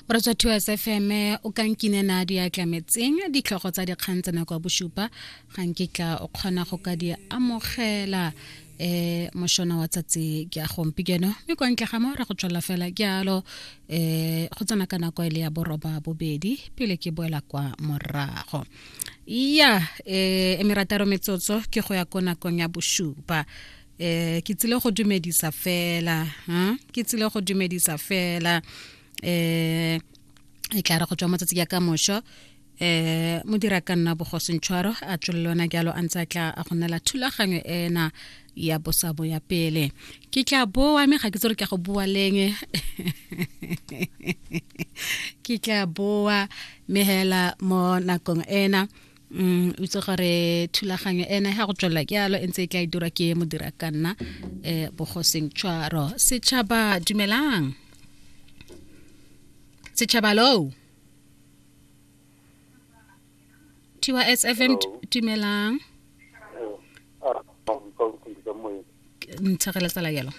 Moratswa TOS FM o ka nkinena di atlametseng ditlhogo tsa dikgang tsa nako ya bosupa ga nkitla o kgona go ka di amogela eh mošona wa tsatsi ke a gompieno mme kwa ntle ga mo ra go tswelela fela jalo eh go tsena ka nako e le ya boroba bobedi pele ke boela kwa morago ya eh e merataro metsotso ke go ya ko nakong ya bosupa. Ke tsile go dumedisa fela, ha ke tsile go dumedisa fela. E tla re go tswa matsatsi ya ka mosho modira ka nna bogosentshwaro a tswelele ona jalo a ntse a tla a go nela thulaganyo ena ya bosabo ya pele. Ke tla boa mme ga ke tsore ke go boa leng. Ke tla boa mme hela mo nakong ena o itse gore thulaganyo ena ga go tswelela ke yalo e ntse e tla e dirwa ke modira ka nna bogoseng tshwaro. Setšhaba dumelang, setšhaba lo TYS FM dumelang. Ntshegela tsala yalo.